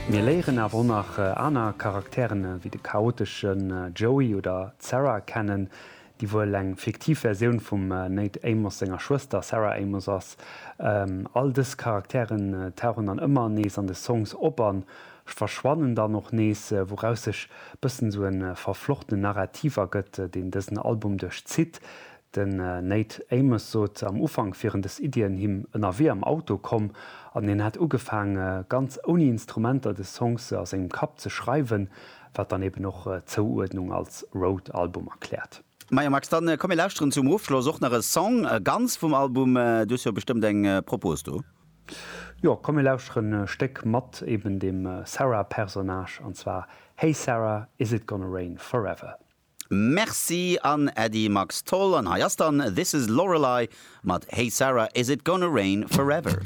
Mir léieren awer och nach aner Charakteren wéi de chaoteschen Joey oder d'Sarah kennen, déi wuel eng fiktiv Versioun vum Nate Amos senger Schwëster Sarah Amos ass. All dës Charakteren tauchen dann ëmmer nees an de Songs op an verschwannen dann och nees, wouraus sech bëssen esou e verflochtenen Narrativ ergëtt, deen dësen Album duerchzitt. Den Nate Amos sot, am Ufank wieren dës Iddien him ënnerwee am Auto komm an hien hätt ugefaang, ganz ouni Instrumenter des Songs a sengem Kapp ze schreiwen, wat dann eben och d'Zouuerdnung als Road-Album erkläert. Majo Max, dann komm mir lauschteren zum Ofschloss och nach e Song ganz vum Album. Du hues jo bestëmmt eng Propos do. Jo, komm mir lauschteren e Stéck mat eben dem Sarah-Personnage, an zwar Hey Sarah, is it gonna rain forever? Merci an Äddi Max Tholl. An hei ass dann This is Lorelei mat Hey Sarah, is it gonna rain forever?